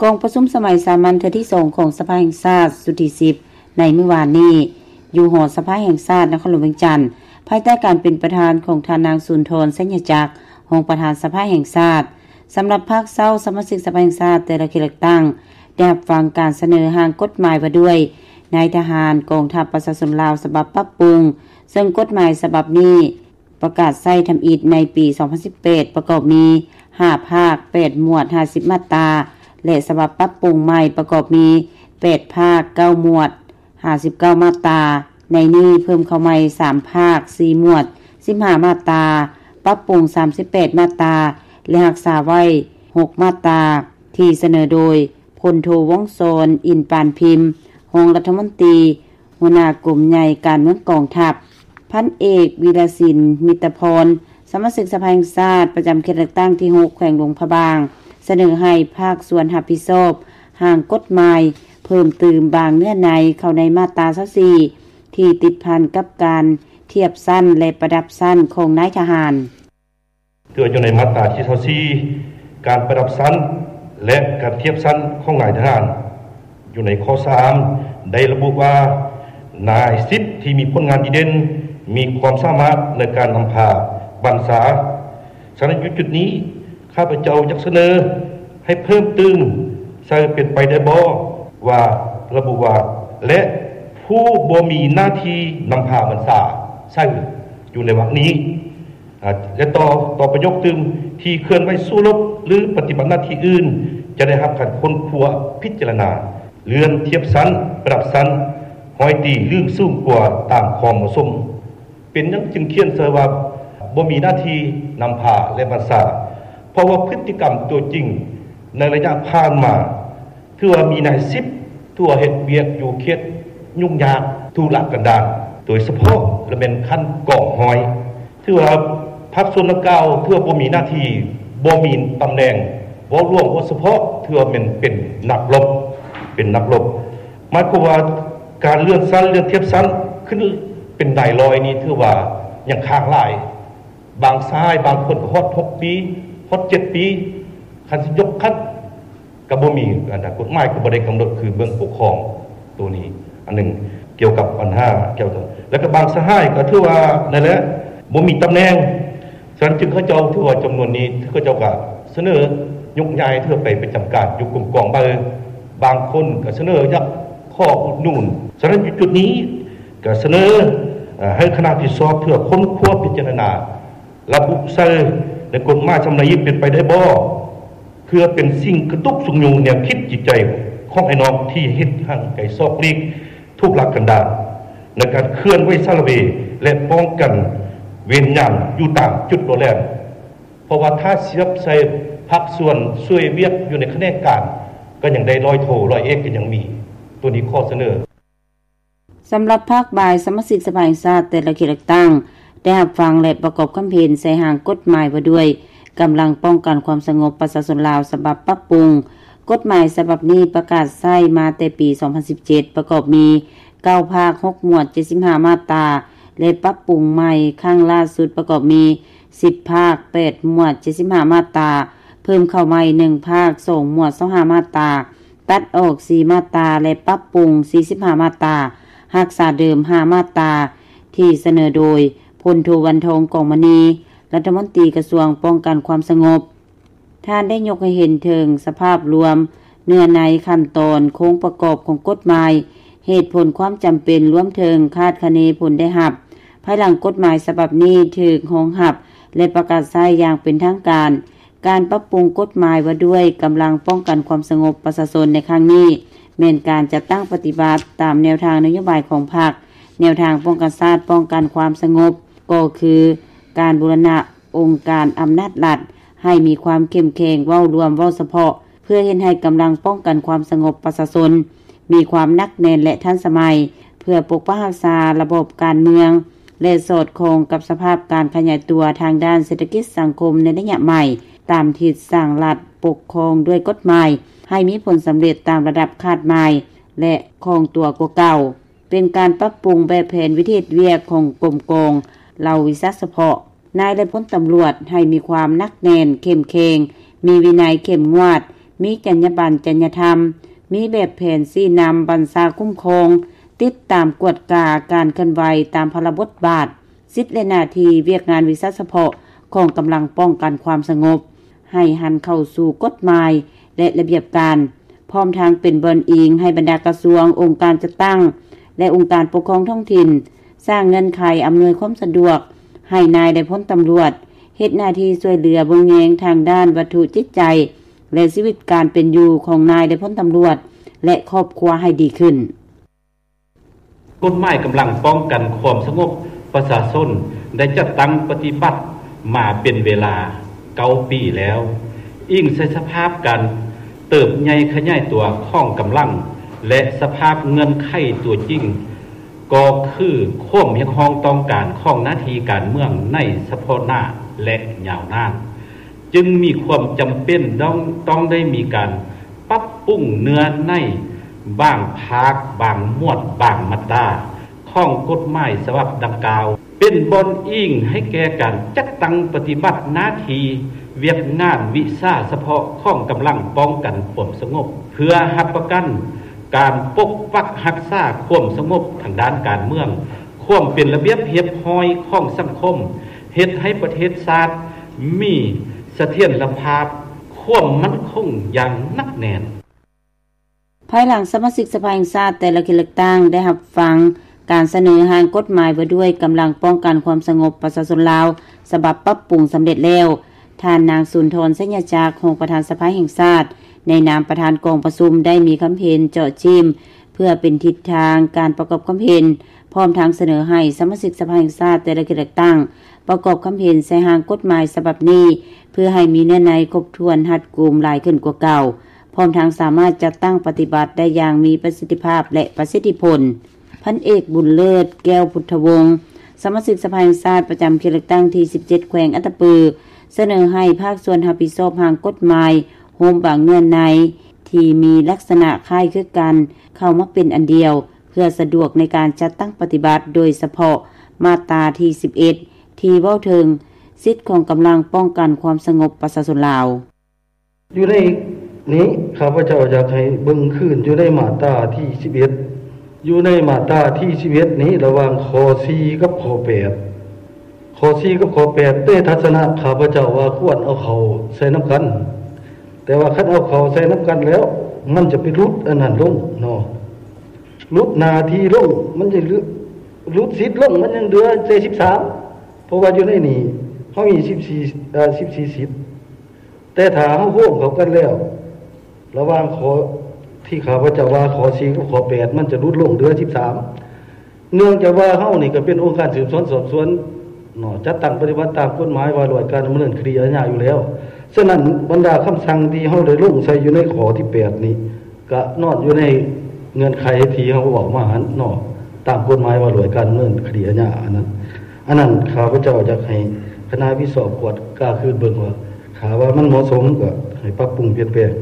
ກອງປະຊຸມສະໄໝສາມັນເທື່ອທີສອງຂອງສະພາແຫ່ງຊາດຊຸດທີສິບ ໃນມື້ວານນີ້ ຢູ່ຫໍສະພາແຫ່ງຊາດນະຄອນຫຼວງວຽງຈັນ ພາຍໃຕ້ການເປັນປະທານຂອງທ່ານນາງ ສຸນທອນ ໄຊຍະຈັກ ຮອງປະທານສະພາແຫ່ງຊາດ. ສຳລັບພາກເຊົ້າ, ສະມາຊິກສະພາແຫ່ງຊາດແຕ່ລະເຂດເລືອກຕັ້ງ ໄດ້ຮັບຟັງການສະເໜີຮ່າງກົດໝາຍວ່າດ້ວຍນາຍທະຫານກອງທັບປະຊາຊົນລາວ ສະບັບປັບປຸງ, ເຊິ່ງກົດໝາຍສະບັບນີ້ ປະກາດໃຊ້ທຳອິດໃນປີສອງພັນສິບແປດ ປະກອບມີຫ້າພາກ ແປດໝວດ ຫ້າສິບມາດຕາ ແລະ ສະບັບປັບປຸງໃໝ່ ປະກອບມີແປດພາກ ເກົ້າໝວດ ຫ້າສິບເກົ້າມາດຕາ. ໃນນີ້ເພີ່ມເຂົ້າໃໝ່ສາມພາກ ສີ່ໝວດ ສິບຫ້າມາດຕາ, ປັບປຸງສາມສິບແປດມາດຕາ ແລະ ຮັກສາໄວ້ຫົກມາດຕາ ທີ່ສະເໜີໂດຍ ພົນໂທ ວົງສອນ ອິນປານພິມ ຮອງລັດຖະມົນຕີ ຫົວໜ້າກົມໃຫຍ່ການເມືອງກອງທັບ, ພັນເອກ ວິລະສິນ ມິດຕະພອນ ສະມາຊິກສະພາແຫ່ງຊາດ ປະຈຳເຂດເລືອກຕັ້ງທີຫົກ ແຂວງຫຼວງພະບາງ ສະເໜີໃຫ້ພາກສ່ວນຮັບຜິດຊອບຮ່າງກົດໝາຍ ເພີ່ມຕື່ມບາງເນື້ອໃນເຂົ້າໃນມາດຕາຊາວສີ່ ທີ່ຕິດພັນກັບການທຽບຊັ້ນ ແລະ ປະດັບຊັ້ນຂອງນາຍທະຫານ. ເທື່ອຢູ່ໃນມາດຕາທີຊາວສີ່ ການປະດັບຊັ້ນ ແລະ ການທຽບຊັ້ນຂອງນາຍທະຫານ. ຢູ່ໃນຂໍ້ສາມ ໄດ້ລະບຸວ່າ ນາຍສິບທີ່ມີຜົນງານດີເດັ່ນ ມີຄວາມສາມາດໃນການນຳພາບັນຊາ. ສະນັ້ນ ຢູ່ຈຸດນີ້ ຂ້າພະເຈົ້າຢາກສະເໜີໃຫ້ເພີ່ມຕື່ມໃສ່ເປັນໄປໄດ້ບໍ່ ວ່າ ລະບຸວ່າ ແລະ ຜູ້ບໍ່ມີໜ້າທີ່ນຳພາບັນຊາ ໃສ່ຢູ່ໃນວາກນີ້. ອາ ແລະ ຕໍ່ ຕໍ່ປະໂຫຍກຕື່ມ ທີ່ເຄື່ອນໄຫວສູ້ລົບ ຫຼື ປະຕິບັດໜ້າທີ່ອື່ນ ຈະໄດ້ຮັບການຄົ້ນຄວ້າພິຈາລະນາ ເລື່ອນທຽບຊັ້ນ ປະດັບຊັ້ນ ຮ້ອຍຕີ ຫຼື ສູງກວ່າຕາມຄວາມເໝາະສົມ. ເປັນຫຍັງຈຶ່ງຂຽນໃສ່ວ່າ ບໍ່ມີໜ້າທີ່ນຳພາ ແລະ ບັນຊາ? ເພາະວ່າພຶດຕິກຳຕົວຈິງໃນໄລຍະຜ່ານມາ ຖືວ່າມີນາຍສິບ ຖືວ່າເຮັດວຽກຢູ່ເຂດຫຍຸ້ງຍາກທຸລະກັນດານ ໂດຍສະເພາະລະແມ່ນຂັ້ນກອງຮ້ອຍ ຖືວ່າພາກສ່ວນດັ່ງກ່າວ ຖືວ່າບໍ່ມີໜ້າທີ່ ບໍ່ມີຕຳແໜ່ງ ເວົ້າລວມ ເວົ້າສະເພາະ ຖືວ່າແມ່ນເປັນນັກລົບ ເປັນນັກລົບ. ໝາຍຄວາມວ່າການເລື່ອນຊັ້ນ ເລື່ອນທຽບຊັ້ນຂຶ້ນເປັນນາຍຮ້ອຍນີ້ ຖືວ່າຍັງຄ້າງຫຼາຍ. ບາງສະຫາຍບາງຄົນກໍຮອດຫົກປີ ຮອດເຈັດປີ ຄັນຊິຍົກຂັ້ນ ກໍບໍ່ມີ ອັນນັ້ນ ກົດໝາຍກໍບໍ່ໄດ້ກຳນົດ ຄືເບື້ອງປົກຄອງໂຕນີ້ ອັນໜຶ່ງ ກ່ຽວກັບບັນຫາກ່ຽວກັບ ແລ້ວກໍບາງສະຫາຍກໍຖືວ່ານັ້ນແຫຼະ ບໍ່ມີຕຳແໜ່ງ. ສະນັ້ນຈຶ່ງເຂົາເຈົ້າຖືວ່າຈຳນວນນີ້ ເຂົາເຈົ້າກໍສະເໜີຍົກຍ້າຍ ເພື່ອໄປປະຈຳການຢູ່ກົມກອງໃໝ່. ບາງຄົນກໍສະເໜີຢາກຂໍອຸດໜູນ. ສະນັ້ນຢູ່ຈຸດນີ້ກໍສະເໜີ ເອີ ໃຫ້ຄະນະທີ່ຊອບເພື່ອຄົ້ນຄວ້າພິຈາລະນາ ລະບຸໃສ່ໃນກົດໝາຍສຳລັບນີ້ເປັນໄປໄດ້ບໍ່ ເພື່ອເປັນສິ່ງກະຕຸກຊຸກຍູ້ແນວຄິດຈິດໃຈຂອງອ້າຍນ້ອງທີ່ເຮັດຫ່າງໄກສອກຫຼີກ ທຸລະກັນດານ ໃນການເຄື່ອນໄຫວສາລະເວ ແລະ ປ້ອງກັນເວນຍາມຢູ່ຕາມຈຸດໂລແລມ. ເພາະວ່າຖ້າສຽບໃສ່ພາກສ່ວນຊ່ວຍວຽກຢູ່ໃນຂະແໜງການ ກໍຍັງໄດ້ຮ້ອຍໂທ ຮ້ອຍເອກກໍຍັງມີ. ໂຕນີ້ຂໍສະເໜີ. ສຳລັບພາກບ່າຍ ສະມາຊິກສະພາແຫ່ງຊາດແຕ່ລະເຂດເລືອກຕັ້ງ ໄດ້ຮັບຟັງ ແລະ ປະກອບຄຳເຫັນໃສ່ຮ່າງກົດໝາຍວ່າດ້ວຍກຳລັງປ້ອງກັນຄວາມສະຫງົບປະຊາຊົນລາວ ສະບັບປັບປຸງ. ກົດໝາຍສະບັບນີ້ປະກາດໃຊ້ມາແຕ່ປີສອງພັນສິບເຈັດ ປະກອບມີເກົ້າພາກ ຫົກໝວດ ເຈັດສິບຫ້າມາດຕາ ແລະ ປັບປຸງໃໝ່ຄັ້ງລ່າສຸດປະກອບມີສິບພາກ ແປດໝວດ ເຈັດສິບຫ້າມາດຕາ, ເພີ່ມເຂົ້າໃໝ່ໜຶ່ງພາກ ສອງໝວດ ຊາວຫ້າມາດຕາ, ຕັດອອກສີ່ມາດຕາ ແລະ ປັບປຸງສີ່ສິບຫ້າມາດຕາ, ຮັກສາເດີມຫ້າມາດຕາ ທີ່ສະເໜີໂດຍ ພົນໂທ ວັນທອງ ກອງມະນີ ລັດຖະມົນຕີກະຊວງປ້ອງກັນຄວາມສະຫງົບ. ທ່ານໄດ້ຍົກໃຫ້ເຫັນເຖິງສະພາບລວມເນື້ອໃນ, ຂັ້ນຕອນ, ໂຄງປະກອບຂອງກົດໝາຍ, ເຫດຜົນ, ຄວາມຈຳເປັນ, ລວມເຖິງຄາດຄະເນຜົນໄດ້ຮັບ ພາຍຫຼັງກົດໝາຍສະບັບນີ້ຖືກຮອງຮັບ ແລະ ປະກາດໃຊ້ຢ່າງເປັນທາງການ. ການປັບປຸງກົດໝາຍວ່າດ້ວຍກຳລັງປ້ອງກັນຄວາມສະຫງົບປະຊາຊົນໃນຄັ້ງນີ້ ແມ່ນການຈັດຕັ້ງປະຕິບັດຕາມແນວທາງນະໂຍບາຍຂອງພັກ, ແນວທາງປ້ອງກັນຊາດ, ປ້ອງກັນຄວາມສະຫງົບ ກໍຄືການບູລະນະອົງການອຳນາດລັດໃຫ້ມີຄວາມເຂັ້ມແຂງ, ເວົ້າລວມ, ເວົ້າສະເພາະ ເພື່ອເຮັດໃຫ້ກຳລັງປ້ອງກັນຄວາມສະຫງົບປະຊາຊົນມີຄວາມໜັກແໜ້ນ ແລະ ທັນສະໄໝ ເພື່ອປົກປັກຮັກສາລະບອບການເມືອງ ແລະ ສອດຄ່ອງກັບສະພາບການຂະຫຍາຍຕົວທາງດ້ານເສດຖະກິດສັງຄົມໃນໄລຍະໃໝ່, ຕາມທິດສ້າງລັດປົກຄອງດ້ວຍກົດໝາຍ ໃຫ້ມີຜົນສຳເລັດຕາມລະດັບຄາດໝາຍ ແລະ ຄ່ອງຕົວກວ່າເກົ່າ. ເປັນການປັບປຸງແບບແຜນວິທີເຮັດວຽກຂອງກົມກອງເຫຼົ່າວິຊາສະເພາະ ນາຍ ແລະ ພົນຕຳຫຼວດ ໃຫ້ມີຄວາມໜັກແໜ້ນ, ເຂັ້ມແຂງ, ມີວິໄນເຂັ້ມງວດ, ມີຈັນຍາບັນ, ຈັນຍາທຳ, ມີແບບແຜນຊີ້ນຳ, ບັນຊາຄຸ້ມຄອງ, ຕິດຕາມກວດກາການເຄື່ອນໄຫວຕາມພາລະບົດບາດ, ສິດ ແລະ ໜ້າທີ່, ວຽກງານວິຊາສະເພາະຂອງກຳລັງປ້ອງກັນຄວາມສະຫງົບ ໃຫ້ຫັນເຂົ້າສູ່ກົດໝາຍ ແລະ ລະບຽບການ, ພ້ອມທັງເປັນບ່ອນອີງໃຫ້ບັນດາກະຊວງ, ອົງການຈັດຕັ້ງ ແລະ ອົງການປົກຄອງທ້ອງຖິ່ນ ສ້າງເງື່ອນໄຂອຳນວຍຄວາມສະດວກໃຫ້ນາຍ ແລະ ພົນຕຳຫຼວດ ເຮັດໜ້າທີ່ຊ່ວຍເຫຼືອເບິ່ງແຍງທາງດ້ານວັດຖຸຈິດໃຈ ແລະ ຊີວິດການເປັນຢູ່ຂອງນາຍ ແລະ ພົນຕຳຫຼວດ ແລະ ຄອບຄົວໃຫ້ດີຂຶ້ນ. ກົດໝາຍກຳລັງປ້ອງກັນຄວາມສະຫງົບປະຊາຊົນໄດ້ຈັດຕັ້ງປະຕິບັດມາເປັນເວລາເກົ້າປີແລ້ວ. ອີງໃສ່ສະພາບການເຕີບໃຫຍ່ຂະຫຍາຍຕົວຂອງກຳລັງ ແລະ ສະພາບເງື່ອນໄຂຕົວຈິງ ກໍຄືຄວາມຮຽກຮ້ອງຕ້ອງການຂອງໜ້າທີ່ການເມືອງໃນສະເພາະໜ້າ ແລະ ຍາວນານ ຈຶ່ງມີຄວາມຈຳເປັນຕ້ອງ ຕ້ອງໄດ້ມີການປັບປຸງເນື້ອໃນບາງພາກ, ບາງໝວດ, ບາງມາດຕາຂອງກົດໝາຍສະບັບດັ່ງກ່າວ ເປັນບ່ອນອີງໃຫ້ແກ່ການຈັດຕັ້ງປະຕິບັດໜ້າທີ່ວຽກງານວິຊາສະເພາະຂອງກຳລັງປ້ອງກັນຄວາມສະຫງົບ ເພື່ອຮັບປະກັນການປົກປັກຮັກສາຄວາມສະຫງົບທາງດ້ານການເມືອງ, ຄວາມເປັນລະບຽບຮຽບຮ້ອຍຂອງສັງຄົມ, ເຮັດໃຫ້ປະເທດຊາດມີສະຖຽນລະພາບ, ຄວາມໝັ້ນຄົງຢ່າງໜັກແໜ້ນ. ພາຍຫຼັງສະມາຊິກສະພາແຫ່ງຊາດແຕ່ລະເຂດເລືອກຕັ້ງໄດ້ຮັບຟັງການສະເໜີຮ່າງກົດໝາຍວ່າດ້ວຍກຳລັງປ້ອງກັນຄວາມສະຫງົບປະຊາຊົນລາວ ສະບັບປັບປຸງສຳເລັດແລ້ວ, ທ່ານນາງ ສຸນທອນ ໄຊຍະຈັກ ຮອງປະທານສະພາແຫ່ງຊາດ ໃນນາມປະທານກອງປະຊຸມ ໄດ້ມີຄຳເຫັນເຈາະຈີ້ມ ເພື່ອເປັນທິດທາງການປະກອບຄຳເຫັນ, ພ້ອມທັງສະເໜີໃຫ້ສະມາຊິກສະພາແຫ່ງຊາດແຕ່ລະເຂດເລືອກຕັ້ງ ປະກອບຄຳເຫັນໃສ່ຮ່າງກົດໝາຍສະບັບນີ້ ເພື່ອໃຫ້ມີເນື້ອໃນຄົບຖ້ວນຮັດກຸມຫຼາຍຂຶ້ນກວ່າເກົ່າ, ພ້ອມທັງສາມາດຈັດຕັ້ງປະຕິບັດໄດ້ຢ່າງມີປະສິດທິພາບ ແລະ ປະສິດທິຜົນ. ພັນເອກ ບຸນເລີດ ແກ້ວພຸດທະວົງ ສະມາຊິກສະພາແຫ່ງຊາດປະຈຳເຂດເລືອກຕັ້ງທີສິບເຈັດ ແຂວງອັດຕະປື ສະເໜີໃຫ້ພາກສ່ວນຮັບຜິດຊອບຮ່າງກົດໝາຍ ໂຮມບາງເນື້ອໃນທີ່ມີລັກສະນະຄ້າຍຄືກັນ ເຂົ້າມາເປັນອັນດຽວ ເພື່ອສະດວກໃນການຈັດຕັ້ງປະຕິບັດ, ໂດຍສະເພາະມາດຕາທີສິບເອັດ ທີ່ເວົ້າເຖິງສິດຂອງກຳລັງປ້ອງກັນຄວາມສະຫງົບປະຊາຊົນລາວ. ຢູ່ໃນນີ້ ຂ້າພະເຈົ້າຢາກໃຫ້ເບິ່ງຄືນຢູ່ໃນມາດຕາທີສິບເອັດ ຢູ່ໃນມາດຕາທີສິບເອັດນີ້ ລະຫວ່າງຂໍ້ສີ່ກັບຂໍ້ແປດ ຂໍ້ສີ່ກັບຂໍ້ແປດ ໃນທັດສະນະຂ້າພະເຈົ້າວ່າຄວນເອົາເຂົ້າໃສ່ນຳກັນ, ແຕ່ວ່າຄັນເອົາເຂົ້າໃສ່ນຳກັນແລ້ວ ມັນຈະໄປຫຼຸດອັນນັ້ນລົງເນາະ, ຫຼຸດໜ້າທີ່ລົງ ມັນຈະຫຼຸດສິດລົງ ມັນຍັງເຫຼືອແຕ່ສິບສາມ ເພາະວ່າຢູ່ໃນນີ້ເຮົາມີສິບສີ່ ເອີ ສິບສີ່ສິດ ແຕ່ຖ້າເຮົາໂຮມເຂົ້າກັນແລ້ວ ລະຫວ່າງຂໍ້ທີ່ຂ້າພະເຈົ້າວ່າຂໍ້ສີ່ກັບຂໍ້ແປດ ມັນຈະຫຼຸດລົງເຫຼືອສິບສາມ ເນື່ອງຈາກວ່າເຮົານີ້ກໍເປັນອົງການສືບສວນສອບສວນເນາະ ຈັດຕັ້ງປະຕິບັດຕາມກົດໝາຍວ່າດ້ວຍການດຳເນີນຄະດີອາຍາຢູ່ແລ້ວ. ສະນັ້ນ ບັນດາຄຳສັ່ງທີ່ເຮົາໄດ້ລົງໃສ່ຢູ່ໃນຂໍ້ທີແປດນີ້ ກະນອນຢູ່ໃນເງື່ອນໄຂທີ່ເຮົາເວົ້າມາຫັ້ນເນາະ ຕາມກົດໝາຍວ່າດ້ວຍການດຳເນີນຄະດີອາຍາ ອັນນັ້ນ ອັນນັ້ນຂ້າພະເຈົ້າຢາກໃຫ້ຄະນະຮັບຜິດຊອບກວດກາຄືນເບິ່ງວ່າ ຖ້າວ່າມັນເໝາະສົມກໍໃຫ້ປັບປຸງປ່ຽນແປງ.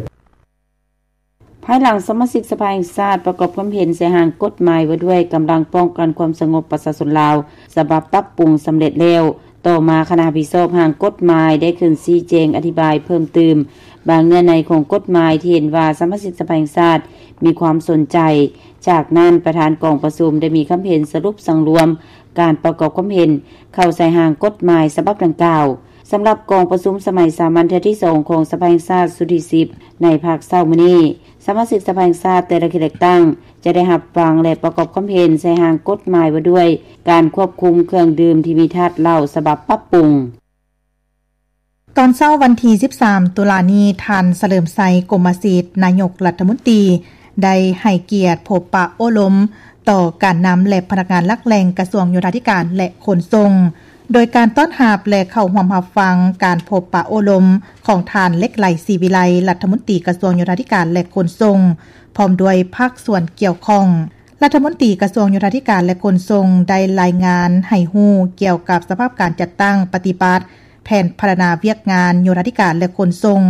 ພາຍຫຼັງສະມາຊິກສະພາແຫ່ງຊາດປະກອບຄຳເຫັນໃສ່ຮ່າງກົດໝາຍວ່າດ້ວຍກຳລັງປ້ອງກັນຄວາມສະຫງົບປະຊາຊົນລາວ ສະບັບປັບປຸງສຳເລັດແລ້ວ, ຕໍ່ມາຄະນະຮັບຜິດຊອບຮ່າງກົດໝາຍໄດ້ຂຶ້ນຊີ້ແຈງອະທິບາຍເພີ່ມຕື່ມບາງເນື້ອໃນຂອງກົດໝາຍທີ່ເຫັນວ່າສະມາຊິກສະພາແຫ່ງຊາດມີຄວາມສົນໃຈ. ຈາກນັ້ນ ປະທານກອງປະຊຸມໄດ້ມີຄຳເຫັນສະຫຼຸບສັງລວມການປະກອບຄຳເຫັນເຂົ້າໃສ່ຮ່າງກົດໝາຍສະບັບດັ່ງກ່າວ. ສຳລັບກອງປະຊຸມສະໄໝສາມັນເທື່ອທີສອງຂອງສະພາແຫ່ງຊາດຊຸດທີສິບ ໃນພາກເຊົ້າມື້ນີ້, ສະມາຊິກສະພາແຫ່ງຊາດແຕ່ລະເຂດເລືອກຕັ້ງຈະໄດ້ຮັບຟັງ ແລະ ປະກອບຄຳເຫັນໃສ່ຮ່າງກົດໝາຍວ່າດ້ວຍການຄວບຄຸມເຄື່ອງດື່ມທີ່ມີທາດເຫຼົ້າສະບັບປັບປຸງ. ຕອນເຊົ້າວັນທີສິບສາມ ຕຸລານີ້, ທ່ານ ສະເຫຼີມໄຊ ກົມມະສິດ ນາຍົກລັດຖະມົນຕີ ໄດ້ໃຫ້ກຽດພົບປະໂອ້ລົມຕໍ່ການນຳ ແລະ ພະນັກງານຫຼັກແຫຼ່ງກະຊວງໂຍທາທິການ ແລະ ຂົນສົ່ງ. ໂດຍການຕ້ອນຮັບ ແລະ ເຂົ້າຮ່ວມຮັບຟັງການພົບປະໂອ້ລົມຂອງທ່ານ ເລັກໄລ ສີວິໄລ ລັດຖະມົນຕີກະຊວງໂຍທາທິການ ແລະ ຂົນສົ່ງ ພ້ອມດ້ວຍພາກສ່ວນກ່ຽວຂ້ອງ. ລັດຖະມົນຕີກະຊວງໂຍທາທິການ ແລະ ຂົນສົ່ງ ໄດ້ລາຍງານໃຫ້ຮູ້ກ່ຽວກັບສະພາບການຈັດຕັ້ງປະຕິບັດແຜນພັດທະນາວຽກງານໂຍທາທິການ ແລະ ຂົນສົ່ງ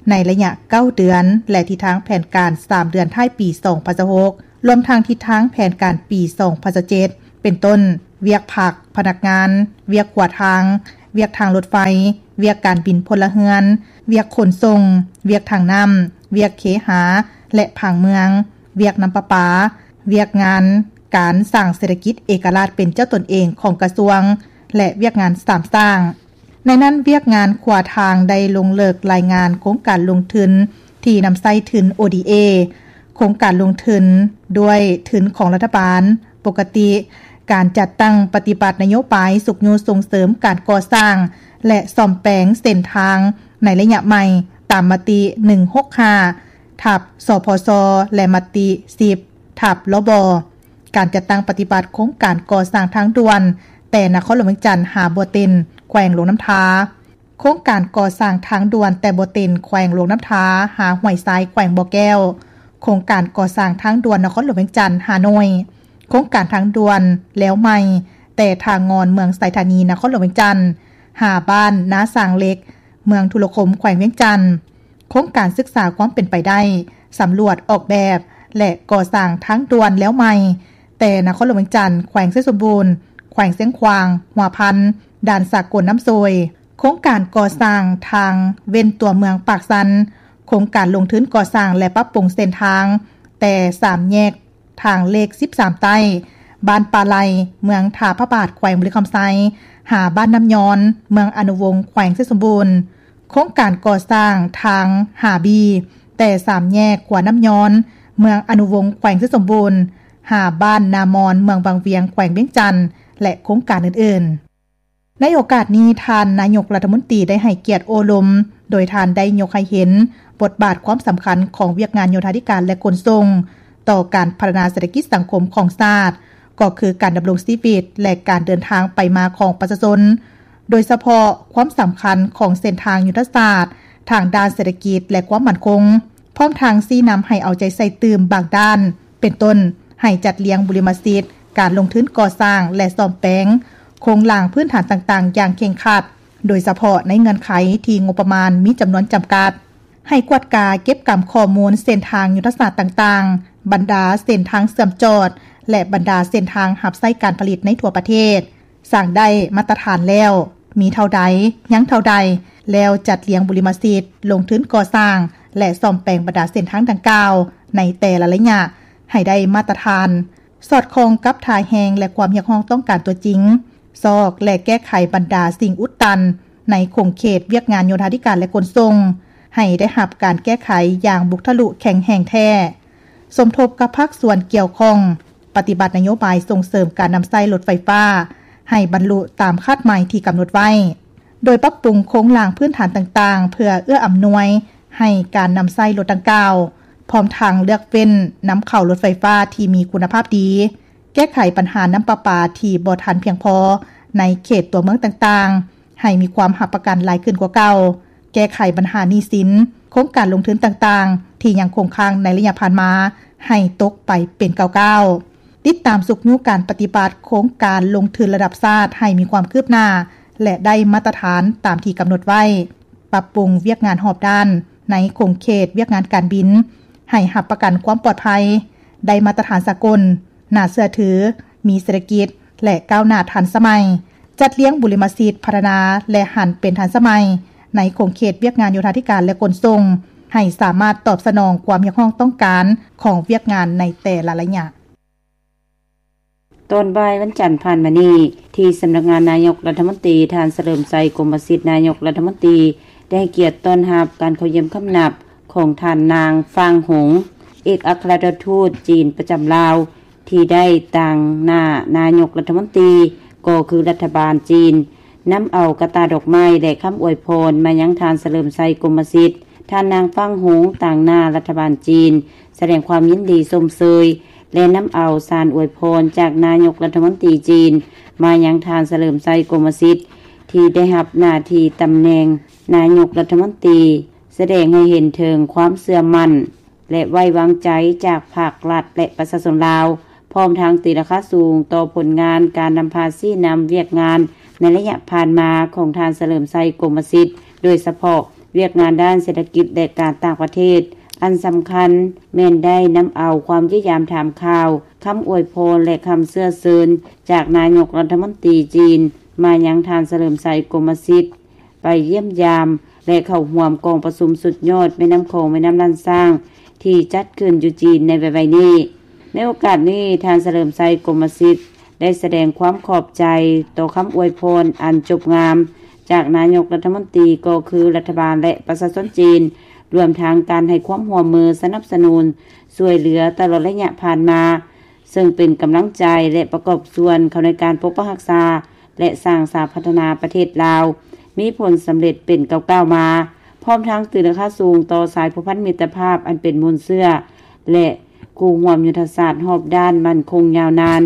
ໃນໄລຍະເກົ້າເດືອນ ແລະ ທິດທາງແຜນການສາມເດືອນທ້າຍປີສອງພັນຊາວຫົກ ລວມທັງທິດທາງແຜນການປີສອງພັນຊາວເຈັດ ເປັນຕົ້ນ ວຽກພັກພະນັກງານ, ວຽກຂົວທາງ, ວຽກທາງລົດໄຟ, ວຽກການບິນພົນລະເຮືອນ, ວຽກຂົນສົ່ງ, ວຽກທາງນ້ຳ, ວຽກເຄຫາ ແລະ ຜັງເມືອງ, ວຽກນ້ຳປະປາ, ວຽກງານການສ້າງເສດຖະກິດເອກະລາດເປັນເຈົ້າຕົນເອງຂອງກະຊວງ ແລະ ວຽກງານສາມສ້າງ. ໃນນັ້ນ, ວຽກງານຂົວທາງໄດ້ລົງເລິກລາຍງານໂຄງການລົງທຶນທີ່ນຳໃຊ້ທຶນ ໂອ ດີ ເອ ໂຄງການລົງທຶນດ້ວຍທຶນຂອງລັດຖະບານປົກກະຕິ, ການຈັດຕັ້ງປະຕິບັດນະໂຍບາຍຊຸກຍູ້ສົ່ງເສີມການກໍ່ສ້າງ ແລະ ສ້ອມແປງເສັ້ນທາງໃນໄລຍະໃໝ່ ຕາມມະຕິ ໜຶ່ງຫົກຫ້າ ທັບ ສພຊ ແລະ ມະຕິ ສິບ ທັບ ລບ ການຈັດຕັ້ງປະຕິບັດໂຄງການກໍ່ສ້າງທາງດ່ວນແຕ່ນະຄອນຫຼວງວຽງຈັນຫາບໍ່ເຕັນ ແຂວງຫຼວງນ້ຳທາ, ໂຄງການກໍ່ສ້າງທາງດ່ວນແຕ່ບໍ່ເຕັນ ແຂວງຫຼວງນ້ຳທາຫາຫ້ວຍຊາຍ ແຂວງບໍ່ແກ້ວ, ໂຄງການກໍ່ສ້າງທາງດ່ວນນະຄອນຫຼວງວຽງຈັນຫາໂນຍ, ໂຄງການທາງດ່ວນແລວໃໝ່ແຕ່ທ່າງ່ອນ ເມືອງໄຊທານີ ນະຄອນຫຼວງວຽງຈັນ ຫາບ້ານນາສາງເຫຼັກ ເມືອງທຸລະຄົມ ແຂວງວຽງຈັນ, ໂຄງການສຶກສາຄວາມເປັນໄປໄດ້ ສຳຫຼວດອອກແບບ ແລະ ກໍ່ສ້າງທາງດ່ວນແລວໃໝ່ ແຕ່ນະຄອນຫຼວງວຽງຈັນ ແຂວງໄຊສົມບູນ ແຂວງຊຽງຂວາງ ຫົວພັນ ດ່ານສາກົນນ້ຳໂຊຍ, ໂຄງການກໍ່ສ້າງທາງເວັ້ນຕົວເມືອງປາກຊັນ, ໂຄງການລົງທຶນກໍ່ສ້າງ ແລະ ປັບປຸງເສັ້ນທາງ ແຕ່ສາມແຍກ ທາງເລກສິບສາມໃຕ້ ບ້ານປ່າໄລ່ ເມືອງທ່າພະບາດ ແຂວງບໍລິຄຳໄຊ ຫາບ້ານນ້ຳຍອນ ເມືອງອະນຸວົງ ແຂວງໄຊສົມບູນ, ໂຄງການກໍ່ສ້າງທາງຫາບີ ແຕ່ສາມແຍກຂົວນ້ຳຍອນ ເມືອງອະນຸວົງ ແຂວງໄຊສົມບູນ ຫາບ້ານນາມອນ ເມືອງວັງວຽງ ແຂວງວຽງຈັນ ແລະ ໂຄງການອື່ນໆ. ໃນໂອກາດນີ້, ທ່ານນາຍົກລັດຖະມົນຕີໄດ້ໃຫ້ກຽດໂອ້ລົມ, ໂດຍທ່ານໄດ້ຍົກໃຫ້ເຫັນບົດບາດຄວາມສຳຄັນຂອງວຽກງານໂຍທາທິການ ແລະ ຂົນສົ່ງ ຕໍ່ການພັດທະນາເສດຖະກິດສັງຄົມຂອງຊາດ, ກໍຄືການດຳລົງຊີວິດ ແລະ ການເດີນທາງໄປມາຂອງປະຊາຊົນ, ໂດຍສະເພາະຄວາມສຳຄັນຂອງເສັ້ນທາງຍຸດທະສາດທາງດ້ານເສດຖະກິດ ແລະ ຄວາມໝັ້ນຄົງ, ພ້ອມທັງຊີ້ນຳໃຫ້ເອົາໃຈໃສ່ຕື່ມບາງດ້ານ, ເປັນຕົ້ນ ໃຫ້ຈັດລຽງບຸລິມະສິດການລົງທຶນກໍ່ສ້າງ ແລະ ສ້ອມແປງໂຄງລ່າງພື້ນຖານຕ່າງໆຢ່າງເຄັ່ງຄັດ, ໂດຍສະເພາະໃນເງື່ອນໄຂທີ່ງົບປະມານມີຈຳນວນຈຳກັດ, ໃຫ້ກວດກາເກັບກຳຂໍ້ມູນເສັ້ນທາງຍຸດທະສາດຕ່າງໆ, ບັນດາເສັ້ນທາງເຊື່ອມຈອດ ແລະ ບັນດາເສັ້ນທາງຮັບໃຊ້ການຜະລິດໃນທົ່ວປະເທດ, ສ້າງໄດ້ມາດຕະຖານແລ້ວມີເທົ່າໃດ, ຍັງເທົ່າໃດ, ແລ້ວຈັດລຽງບຸລິມະສິດລົງທຶນກໍ່ສ້າງ ແລະ ສ້ອມແປງບັນດາເສັ້ນທາງດັ່ງກ່າວໃນແຕ່ລະໄລຍະໃຫ້ໄດ້ມາດຕະຖານ, ສອດຄ່ອງກັບທ່າແຮງ ແລະ ຄວາມຮຽກຮ້ອງຕ້ອງການຕົວຈິງ, ຊອກ ແລະ ແກ້ໄຂບັນດາສິ່ງອຸດຕັນໃນຂົງເຂດວຽກງານໂຍທາທິການ ແລະ ຂົນສົ່ງ ໃຫ້ໄດ້ຮັບການແກ້ໄຂຢ່າງບຸກທະລຸແຂງແຮງແທ້. ສົມທົບກັບພາກສ່ວນກ່ຽວຂ້ອງ ປະຕິບັດນະໂຍບາຍສົ່ງເສີມການນຳໃຊ້ລົດໄຟຟ້າໃຫ້ບັນລຸຕາມຄາດໝາຍທີ່ກຳນົດໄວ້, ໂດຍປັບປຸງໂຄງລ່າງພື້ນຖານຕ່າງໆ ເພື່ອເອື້ອອຳນວຍໃຫ້ການນຳໃຊ້ລົດດັ່ງກ່າວ, ພ້ອມທັງເລືອກເວັ້ນນຳເຂົ້າລົດໄຟຟ້າທີ່ມີຄຸນນະພາບດີ, ແກ້ໄຂບັນຫານ້ຳປະປາທີ່ບໍ່ທັນພຽງພໍໃນເຂດຕົວເມືອງຕ່າງໆ ໃຫ້ມີຄວາມຮັບປະກັນຫຼາຍຂຶ້ນກວ່າເກົ່າ, ແກ້ໄຂບັນຫາໜີ້ສິນ, ໂຄງການລົງທຶນຕ່າງໆ ທີ່ຍັງຄົງຄ້າງໃນໄລຍະຜ່ານມາ ໃຫ້ຕົກໄປເປັນກ້າວໆ, ຕິດຕາມຊຸກຍູ້ການປະຕິບັດໂຄງການລົງທຶນລະດັບຊາດໃຫ້ມີຄວາມຄືບໜ້າ ແລະ ໄດ້ມາດຕະຖານຕາມທີ່ກຳນົດໄວ້, ປັບປຸງວຽກງານຮອບດ້ານໃນຂົງເຂດວຽກງານການບິນ ໃຫ້ຮັບປະກັນຄວາມປອດໄພ, ໄດ້ມາດຕະຖານສາກົນ, ໜ້າເຊື່ອຖື, ມີເສດຖະກິດ ແລະ ກ້າວໜ້າທັນສະໄໝ, ຈັດລຽງບຸລິມະສິດພັດທະນາ ແລະ ຫັນເປັນທັນສະໄໝ ໃນຂົງເຂດວຽກງານໂຍທາທິການ ແລະ ຂົນສົ່ງ ໃຫ້ສາມາດຕອບສະໜອງຄວາມຮຽກຮ້ອງຕ້ອງການຂອງວຽກງານໃນແຕ່ລະໄລຍະ. ຕອນບ່າຍວັນຈັນຜ່ານມານີ້, ທີ່ສຳນັກງານນາຍົກລັດຖະມົນຕີ, ທ່ານ ສະເຫຼີມໄຊ ກົມມະສິດ ນາຍົກລັດຖະມົນຕີ ໄດ້ໃຫ້ກຽດຕ້ອນຮັບການເຂົ້າຢ້ຽມຄຳນັບຂອງທ່ານນາງ ຟາງຫົງ ເອກອັກຄະລັດຖະທູດຈີນປະຈຳລາວ ທີ່ໄດ້ຕາງໜ້ານາຍົກລັດຖະມົນຕີ ກໍຄືລັດຖະບານຈີນ ນຳເອົາກະຕ່າດອກໄມ້ ແລະ ຄຳອວຍພອນມາຍັງທ່ານ ສະເຫຼີມໄຊ ກົມມະສິດ. ທ່ານນາງ ຟາງຫົງ ຕາງໜ້າລັດຖະບານຈີນ ສະແດງຄວາມຍິນດີຊົມເຊີຍ ແລະ ນຳເອົາສານອວຍພອນຈາກນາຍົກລັດຖະມົນຕີຈີນ ມາຍັງທ່ານ ສະເຫຼີມໄຊ ກົມມະສິດ ທີ່ໄດ້ຮັບໜ້າທີ່ຕຳແໜ່ງນາຍົກລັດຖະມົນຕີ, ສະແດງໃຫ້ເຫັນເຖິງຄວາມເຊື່ອໝັ້ນ ແລະ ໄວ້ວາງໃຈຈາກພາກລັດ ແລະ ປະຊາຊົນລາວ, ພ້ອມທັງຕີລາຄາສູງຕໍ່ຜົນງານການນຳພາຊີ້ນຳວຽກງານໃນໄລຍະຜ່ານມາຂອງທ່ານ ສະເຫຼີມໄຊ ກົມມະສິດ, ໂດຍສະເພາະວຽກງານດ້ານເສດຖະກິດ ແລະ ການຕ່າງປະເທດ, ອັນສຳຄັນແມ່ນໄດ້ນຳເອົາຄວາມຢ້ຽມຢາມຖາມຂ່າວ, ຄຳອວຍພອນ ແລະ ຄຳເຊື້ອເຊີນຈາກນາຍົກລັດຖະມົນຕີຈີນ ມາຍັງທ່ານສະເຫຼີມໄຊ ກົມມະສິດ ໄປຢ້ຽມຢາມ ແລະ ເຂົ້າຮ່ວມກອງປະຊຸມສຸດຍອດແມ່ນ້ຳຂອງແມ່ນ້ຳລ້ານຊ້າງ ທີ່ຈັດຂຶ້ນຢູ່ຈີນໃນໄວໆນີ້. ໃນໂອກາດນີ້ ທ່ານສະເຫຼີມໄຊ ກົມມະສິດ ໄດ້ສະແດງຄວາມຂອບໃຈຕໍ່ຄຳອວຍພອນອັນຈົບງາມ ຈາກນາຍົກລັດຖະມົນຕີ ກໍຄືລັດຖະບານ ແລະ ປະຊາຊົນຈີນ, ລວມທັງການໃຫ້ຄວາມຮ່ວມມືສະໜັບສະໜູນຊ່ວຍເຫຼືອຕະຫຼອດໄລຍະຜ່ານມາ, ເຊິ່ງເປັນກຳລັງໃຈ ແລະ ປະກອບສ່ວນເຂົ້າໃນການປົກປັກຮັກສາ ແລະ ສ້າງສາພັດທະນາປະເທດລາວ ມີຜົນສຳເລັດເປັນກ້າວໆມາ, ພ້ອມທັງຕີລາຄາສູງຕໍ່ສາຍພົວພັນມິດຕະພາບອັນເປັນມູນເຊື້ອ ແລະ ຄູ່ຮ່ວມຍຸດທະສາດຮອບດ້ານໝັ້ນຄົງຍາວນານ,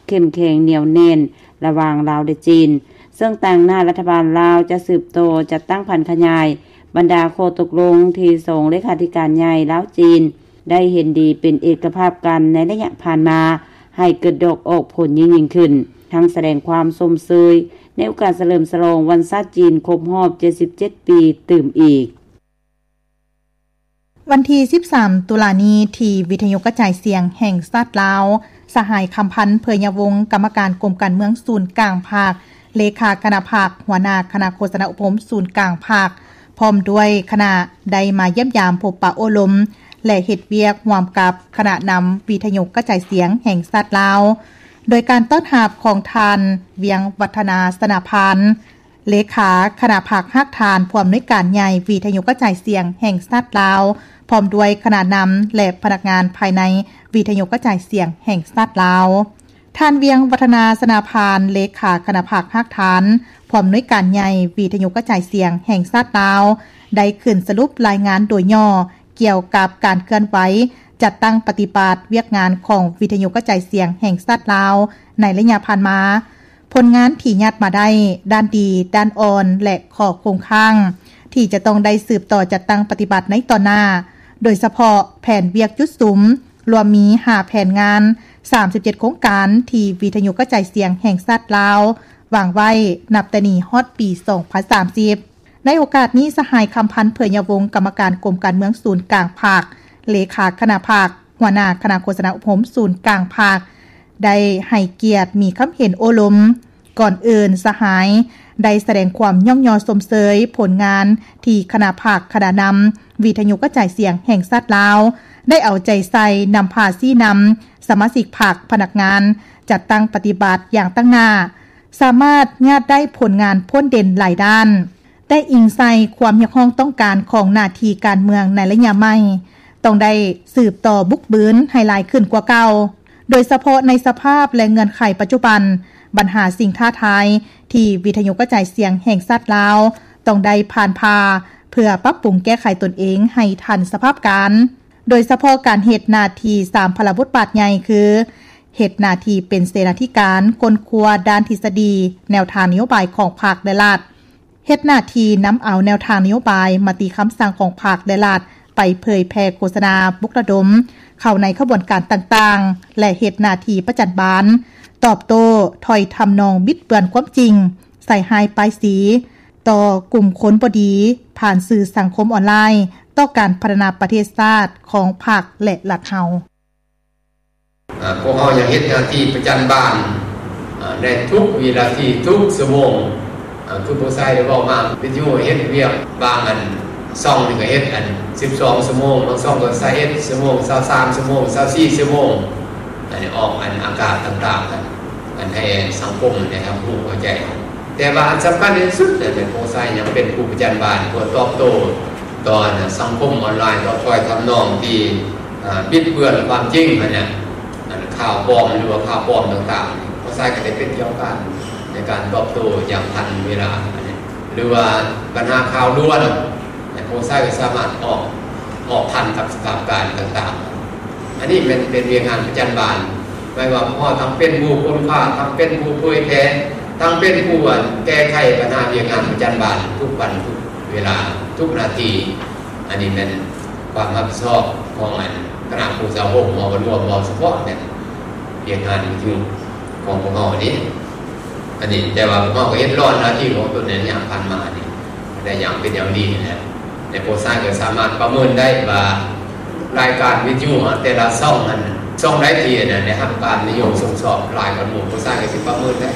ເຂັ້ມແຂງໜຽວແໜ້ນ ລະຫວ່າງລາວ ແລະ ຈີນ, ເຊິ່ງຕາງໜ້າລັດຖະບານລາວຈະສືບຕໍ່ຈັດຕັ້ງຜັນຂະຫຍາຍບັນດາຂໍ້ຕົກລົງທີ່ສອງເລຂາທິການໃຫຍ່ລາວ-ຈີນ ໄດ້ເຫັນດີເປັນເອກະພາບກັນໃນໄລຍະຜ່ານມາ ໃຫ້ເກີດດອກອອກຜົນຍິ່ງໆຂຶ້ນ, ທັງສະແດງຄວາມຊົມເຊີຍໃນໂອກາດສະເຫຼີມສະຫຼອງວັນຊາດຈີນຄົບຮອບເຈັດສິບເຈັດປີຕື່ມອີກ. ວັນທີສິບສາມ ຕຸລານີ້ ທີ່ວິທະຍຸກະຈາຍສຽງແຫ່ງຊາດລາວ, ສະຫາຍ ຄຳພັນ ເຜີຍຍະວົງ ກຳມະການກົມການເມືອງສູນກາງພັກ, ເລຂາຄະນະພັກ, ຫົວໜ້າຄະນະໂຄສະນາອົບຮົມສູນກາງພັກ, ພ້ອມດ້ວຍຄະນະ ໄດ້ມາຢ້ຽມຢາມພົບປະໂອ້ລົມ ແລະ ເຮັດວຽກຮ່ວມກັບຄະນະນຳວິທະຍຸກະຈາຍສຽງແຫ່ງຊາດລາວ, ໂດຍການຕ້ອນຮັບຂອງທ່ານ ວຽງວັດທະນາ ສະນະພັນ, ເລຂາຄະນະພັກຮາກຖານ ຜູ້ອຳນວຍການໃຫຍ່ວິທະຍຸກະຈາຍສຽງແຫ່ງຊາດລາວ, ພ້ອມດ້ວຍຄະນະນຳ ແລະ ພະນັກງານພາຍໃນວິທະຍຸກະຈາຍສຽງແຫ່ງຊາດລາວ. ທ່ານ ວຽງວັດທະນາ ສະນາພານ, ເລຂາຄະນະພັກຮາກຖານ, ຜູ້ອຳນວຍການໃຫຍ່ວິທະຍຸກະຈາຍສຽງແຫ່ງຊາດລາວ, ໄດ້ຂຶ້ນສະຫຼຸບລາຍງານໂດຍຫຍໍ້ກ່ຽວກັບການເຄື່ອນໄຫວຈັດຕັ້ງປະຕິບັດວຽກງານຂອງວິທະຍຸກະຈາຍສຽງແຫ່ງຊາດລາວໃນໄລຍະຜ່ານມາ, ຜົນງານທີ່ຍາດມາໄດ້, ດ້ານດີ, ດ້ານອ່ອນ ແລະ ຂໍ້ຄົງຄ້າງ ທີ່ຈະຕ້ອງໄດ້ສືບຕໍ່ຈັດຕັ້ງປະຕິບັດໃນຕໍ່ໜ້າ, ໂດຍສະເພາະແຜນວຽກຈຸດສຸມ ລວມມີຫ້າແຜນງານ, ສາມສິບເຈັດໂຄງການທີ່ວິທະຍຸກະຈາຍສຽງແຫ່ງຊາດລາວວາງໄວ້ ນັບແຕ່ນີ້ຮອດປີສອງພັນສາມສິບ. ໃນໂອກາດນີ້, ສະຫາຍ ຄຳພັນ ເຜີຍຍະວົງ, ກຳມະການກົມການເມືອງສູນກາງພັກ, ເລຂາຄະນະພັກ, ຫົວໜ້າຄະນະໂຄສະນາອົບຮົມສູນກາງພັກ ໄດ້ໃຫ້ກຽດມີຄຳເຫັນໂອ້ລົມ. ກ່ອນອື່ນ, ສະຫາຍໄດ້ສະແດງຄວາມຍ້ອງຍໍຊົມເຊີຍຜົນງານທີ່ຄະນະພັກ, ຄະນະນຳວິທະຍຸກະຈາຍສຽງແຫ່ງຊາດລາວ ໄດ້ເອົາໃຈໃສ່ນຳພາຊີ້ນຳສະມາຊິກພັກ, ພະນັກງານ, ຈັດຕັ້ງປະຕິບັດຢ່າງຕັ້ງໜ້າ, ສາມາດຍາດໄດ້ຜົນງານພົ້ນເດັ່ນຫຼາຍດ້ານ. ແຕ່ອີງໃສ່ຄວາມຮຽກຮ້ອງຕ້ອງການຂອງໜ້າທີ່ການເມືອງໃນໄລຍະໃໝ່, ຕ້ອງໄດ້ສືບຕໍ່ບຸກບືນໃຫ້ຫຼາຍຂຶ້ນກວ່າເກົ່າ, ໂດຍສະເພາະໃນສະພາບ ແລະ ເງື່ອນໄຂປັດຈຸບັນ, ບັນຫາສິ່ງທ້າທາຍທີ່ວິທະຍຸກະຈາຍສຽງແຫ່ງຊາດລາວຕ້ອງໄດ້ຜ່ານຜ່າ ເພື່ອປັບປຸງແກ້ໄຂຕົນເອງໃຫ້ທັນສະພາບການ, ໂດຍສະເພາະການເຮັດໜ້າທີ່ສາມພາລະບົດບາດໃຫຍ່ ຄື ເຮັດໜ້າທີ່ເປັນເສນາທິການຄົ້ນຄວ້າດ້ານທິດສະດີ, ແນວທາງນະໂຍບາຍຂອງພັກ ແລະ ລັດ, ເຮັດໜ້າທີ່ນຳເອົາແນວທາງນະໂຍບາຍ, ມະຕິຄຳສັ່ງຂອງພັກ ແລະ ລັດ ໄປເຜີຍແຜ່ໂຄສະນາ, ປຸກລະດົມເຂົ້າໃນຂະບວນການຕ່າງໆ ແລະ ເຮັດໜ້າທີ່ປະຈັນບານ, ຕອບໂຕ້ຖ້ອຍທຳນອງບິດເບືອນຄວາມຈິງ, ໃສ່ຮ້າຍປ້າຍສີຕໍ່ກຸ່ມຄົນບໍ່ດີ ຜ່ານສື່ສັງຄົມອອນລາຍ ຕໍ່ການພັດທະນາປະເທດຊາດຂອງພັກ ແລະ ລັດເຮົາ. ອາ ພວກເຮົາຍັງເຮັດໜ້າທີ່ປະຈັນບານ ອາ ໃນທຸກວິນາທີ ທຸກຊົ່ວໂມງ. ອາ ຄືຜູ້ຊາຍໄດ້ເວົ້າມາ, ວິທະຍຸເຮັດວຽກບາງອັນ ຊ່ອງນີ້ກໍເຮັດອັນສິບສອງຊົ່ວໂມງ, ບາງຊ່ອງກໍຊາວເອັດຊົ່ວໂມງ, ຊາວສາມຊົ່ວໂມງ, ຊາວສີ່ຊົ່ວໂມງ, ອັນນີ້ອອກອັນອາກາດຕ່າງໆ ອັນໃຫ້ສັງຄົມໄດ້ຮັບຮູ້ເຂົ້າໃຈ. ແຕ່ວ່າອັນສຳຄັນທີ່ສຸດ ແມ່ນພວກຊາຍຍັງເປັນຜູ້ປະຈັນບານ ເພື່ອຕອບໂຕ້ຕໍ່ອັນສັງຄົມອອນລາຍ, ຕໍ່ຖ້ອຍທຳນອງທີ່ ອ່າ ບິດເບືອນຄວາມຈິງຫັ້ນນະ, ອັນຂ່າວປອມ ຫຼືວ່າຂ່າວປອມຕ່າງໆ, ພວກຊາຍກໍໄດ້ເປັນເຈົ້າການໃນການຕອບໂຕ້ຢ່າງທັນເວລາ, ຫຼືວ່າບັນຫາຂ່າວດ່ວນ, ພວກຊາຍກໍສາມາດອອກ ອອກທັນກັບສະພາບການຕ່າງໆ. ອັນນີ້ແມ່ນເປັນວຽກງານປະຈຳວັນ, ແມ່ນວ່າພວກເຮົາທັງເປັນຜູ້ຄົ້ນຄວ້າ, ທັງເປັນຜູ້ເຜີຍແຜ່, ທັງເປັນຜູ້ ອັນ ແກ້ໄຂບັນຫາວຽກງານປະຈຳວັນທຸກວັນທຸກເວລາ, ທຸກນາທີ. ອັນນີ້ແມ່ນຄວາມຮັບຜິດຊອບຂອງອັນຄະນະຜູ້ສາວົງເຮົາກໍລວມເວົ້າສະເພາະແມ່ນວຽກງານຢູ່ຂອງພວກເຮົານີ້ ອັນນີ້. ແຕ່ວ່າພວກເຮົາກໍເຮັດລ້ອນໜ້າທີ່ຂອງຕົນໃນໄລຍະຜ່ານມານີ້ໄດ້ຢ່າງເປັນຢ່າງດີແລ້ວ, ແລະ ໂປຊາຍກໍສາມາດປະເມີນໄດ້ວ່າລາຍການວິທະຍຸແຕ່ລະຊ່ອງນັ້ນ ຊ່ອງໃດທີ່ ອັນ ໄດ້ຮັບການນິຍົມຊົມຊອບຫຼາຍກວ່າໝູ່, ໂປຊາຍກໍຊິປະເມີນໄດ້.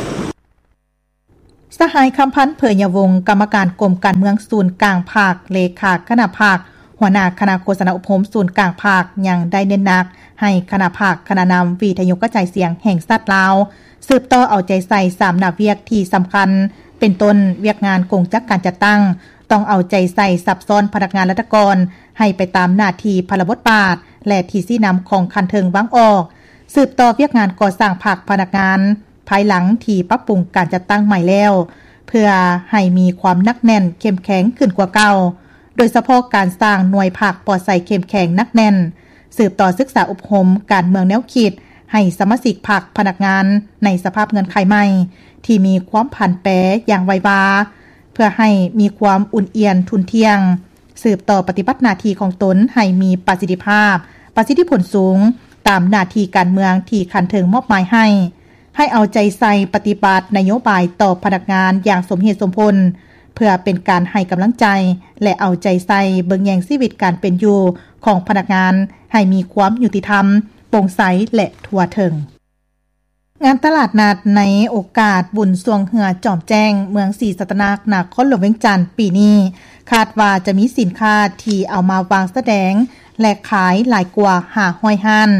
ສະຫາຍ ຄຳພັນ ເຜີຍຍະວົງ ກຳມະການກົມການເມືອງສູນກາງພັກ, ເລຂາຄະນະພັກ, ຫົວໜ້າຄະນະໂຄສະນາອົບຮົມສູນກາງພັກ ຍັງໄດ້ເນັ້ນໜັກໃຫ້ຄະນະພັກ, ຄະນະນຳວິທະຍຸກະຈາຍສຽງແຫ່ງຊາດລາວ ສືບຕໍ່ເອົາໃຈໃສ່ສາມໜ້າວຽກທີ່ສຳຄັນ ເປັນຕົ້ນ ວຽກງານກົງຈັກການຈັດຕັ້ງ ຕ້ອງເອົາໃຈໃສ່ຊັບຊ້ອນພະນັກງານລັດຖະກອນ ໃຫ້ໄປຕາມໜ້າທີ່ພາລະບົດບາດ ແລະ ທີ່ຊີ້ນຳຂອງຂັ້ນເທິງວາງອອກ, ສືບຕໍ່ວຽກງານກໍ່ສ້າງພັກພະນັກງານ ພາຍຫຼັງທີ່ປັບປຸງການຈັດຕັ້ງໃໝ່ແລ້ວ ເພື່ອໃຫ້ມີຄວາມໜັກແໜ້ນເຂັ້ມແຂງຂຶ້ນກວ່າເກົ່າ, ໂດຍສະເພາະການສ້າງໜ່ວຍພັກປອດໃສເຂັ້ມແຂງໜັກແໜ້ນ, ສືບຕໍ່ສຶກສາອົບຮົມການເມືອງແນວຄິດໃຫ້ສະມາຊິກພັກພະນັກງານໃນສະພາບເງື່ອນໄຂໃໝ່ທີ່ມີຄວາມຜັນແປຢ່າງໄວວາ, ເພື່ອໃຫ້ມີຄວາມອຸ່ນອຽນທຸ່ນທ່ຽງ, ສືບຕໍ່ປະຕິບັດໜ້າທີ່ຂອງຕົນໃຫ້ມີປະສິດທິພາບ, ປະສິດທິຜົນສູງ ຕາມໜ້າທີ່ການເມືອງທີ່ຂັ້ນເທິງມອບໝາຍໃຫ້, ໃຫ້ເອົາໃຈໃສ່ປະຕິບັດນະໂຍບາຍຕໍ່ພະນັກງານຢ່າງສົມເຫດສົມຜົນ, ເພື່ອເປັນການໃຫ້ກຳລັງໃຈ ແລະ ເອົາໃຈໃສ່ເບິ່ງແຍງຊີວິດການເປັນຢູ່ຂອງພະນັກງານໃຫ້ມີຄວາມຍຸຕິທຳ, ໂປ່ງໃສ ແລະ ທົ່ວເຖິງ. ງານຕະຫຼາດນັດໃນໂອກາດບຸນຊ່ວງເຮືອຈອມແຈ້ງ ເມືອງສີສັດຕະນາກ ນະຄອນຫຼວງວຽງຈັນ ປີນີ້ ຄາດວ່າຈະມີສິນຄ້າທີ່ເອົາມາວາງສະແດງ ແລະ ຂາຍຫຼາຍກວ່າຫ້າຮ້ອຍຮ້ານ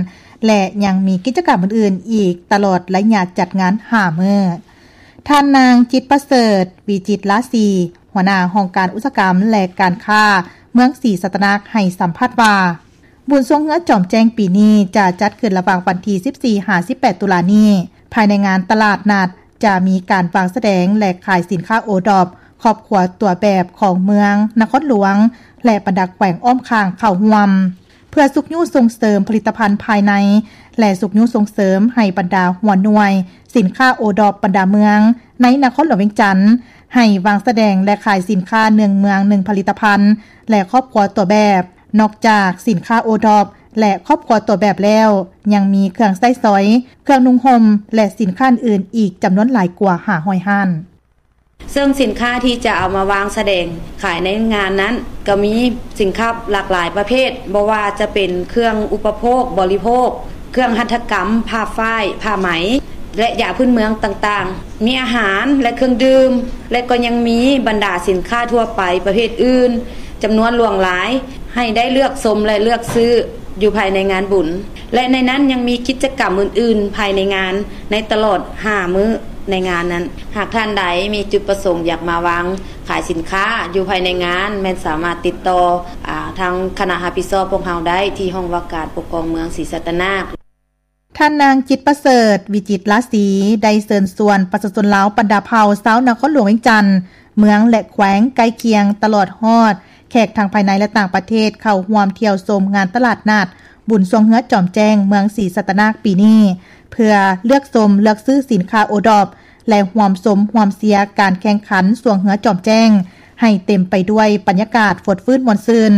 ແລະ ຍັງມີກິດຈະກຳອື່ນໆອີກຕະຫຼອດໄລຍະຈັດງານຫ້າມື້. ທ່ານນາງ ຈິດປະເສີດ ວິຈິດລາສີ ຫົວໜ້າຫ້ອງການອຸດສາຫະກຳ ແລະ ການຄ້າເມືອງສີສັດຕະນາກ ໃຫ້ສຳພາດວ່າ ບຸນຊ່ວງເຮືອຈອມແຈ້ງປີນີ້ຈະຈັດຂຶ້ນລະຫວ່າງວັນທີສິບສີ່ ຫາ ສິບແປດ ຕຸລານີ້. ພາຍໃນງານຕະຫຼາດນັດຈະມີການວາງສະແດງ ແລະ ຂາຍສິນຄ້າໂອດອບຄອບຄົວຕົວແບບຂອງເມືອງ, ນະຄອນຫຼວງ ແລະ ບັນດາແຂວງອ້ອມຂ້າງເຂົ້າຮ່ວມ. ເພື່ອຊຸກຍູ້ສົ່ງເສີມຜະລິດຕະພັນພາຍໃນ ແລະ ຊຸກຍູ້ສົ່ງເສີມໃຫ້ບັນດາຫົວໜ່ວຍສິນຄ້າໂອດອບບັນດາເມືອງໃນນະຄອນຫຼວງວຽງຈັນ ໃຫ້ວາງສະແດງ ແລະ ຂາຍສິນຄ້າໜຶ່ງເມືອງໜຶ່ງຜະລິດຕະພັນ ແລະ ຄອບຄົວຕົວແບບ. ນອກຈາກສິນຄ້າໂອດອບ ແລະ ຄອບຄົວຕົວແບບແລ້ວ, ຍັງມີເຄື່ອງໃຊ້ສອຍ, ເຄື່ອງນຸ່ງຫົ່ມ ແລະ ສິນຄ້າອື່ນໆອີກຈຳນວນຫຼາຍກວ່າຫ້າຮ້ອຍຮ້ານ. ເຊິ່ງສິນຄ້າທີ່ຈະເອົາມາວາງສະແດງຂາຍໃນງານນັ້ນ ກໍມີສິນຄ້າຫຼາກຫຼາຍປະເພດ, ບໍ່ວ່າຈະເປັນເຄື່ອງອຸປະໂພກບໍລິໂພກ, ເຄື່ອງຫັດຖະກຳ, ຜ້າຝ້າຍ, ຜ້າໄໝ ແລະ ຢາພື້ນເມືອງຕ່າງໆ, ມີອາຫານ ແລະ ເຄື່ອງດື່ມ ແລະ ກໍຍັງມີບັນດາສິນຄ້າທົ່ວໄປປະເພດອື່ນ ຈຳນວນຫຼວງຫຼາຍ ໃຫ້ໄດ້ເລືອກຊົມ ແລະ ເລືອກຊື້ຢູ່ພາຍໃນງານບຸນ ແລະ ໃນນັ້ນຍັງມີກິດຈະກຳອື່ນໆພາຍໃນງານ ໃນຕະຫຼອດຫ້າມື້ໃນງານນັ້ນ. ຫາກທ່ານໃດມີຈຸດປະສົງຢາກມາວາງຂາຍສິນຄ້າຢູ່ພາຍໃນງານ, ແມ່ນສາມາດຕິດຕໍ່ ອາ ທາງຄະນະຮັບຜິດຊອບພວກເຮົາໄດ້ທີ່ຫ້ອງວ່າການປົກຄອງເມືອງສີສັດຕະນາກ. ທ່ານນາງ ຈິດປະເສີດ ວິຈິດລາສີ ໄດ້ເຊີນຊວນປະຊາຊົນລາວບັນດາເຜົ່າຊາວນະຄອນຫຼວງວຽງຈັນ, ເມືອງ ແລະ ແຂວງໃກ້ຄຽງ, ຕະຫຼອດຮອດແຂກທັງພາຍໃນ ແລະ ຕ່າງປະເທດ ເຂົ້າຮ່ວມທ່ຽວຊົມງານຕະຫຼາດນັດບຸນຊ່ວງເຮືອຈອມແຈ້ງເມືອງສີສັດຕະນາກປີນີ້ ເພື່ອເລືອກຊົມເລືອກຊື້ສິນຄ້າໂອດອບ ແລະ ຮ່ວມຊົມຮ່ວມເຊຍການແຂ່ງຂັນຊ່ວງເຮືອຈອມແຈ້ງ ໃຫ້ເຕັມໄປດ້ວຍບັນຍາກາດຟົດຟື້ນມ່ວນຊື່ນ,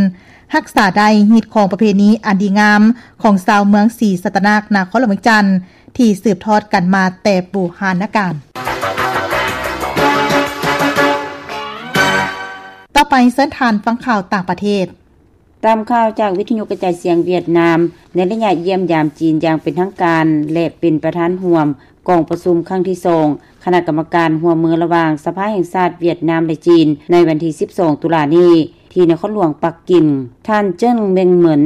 ຮັກສາໄດ້ຮີດຄອງປະເພນີອັນດີງາມຂອງຊາວເມືອງສີສັດຕະນາກ ນະຄອນຫຼວງວຽງຈັນ ທີ່ສືບທອດກັນມາແຕ່ບູຮານະການ. ຕໍ່ໄປເຊີນທ່ານຟັງຂ່າວຕ່າງປະເທດ. ຕາມຂ່າວຈາກວິທະຍຸກະຈາຍສຽງຫວຽດນາມ, ໃນໄລຍະຢ້ຽມຢາມຈີນຢ່າງເປັນທາງການ ແລະ ເປັນປະທານຮ່ວມກອງປະຊຸມຄັ້ງທີສອງ ຄະນະກຳມະການຮ່ວມມືລະຫວ່າງສະພາແຫ່ງຊາດຫວຽດນາມ ແລະ ຈີນ ໃນວັນທີສິບສອງ ຕຸລານີ້ ທີ່ນະຄອນຫຼວງປັກກິ່ງ. ທ່ານ ເຈິ້ງ ເມັງເໝິນ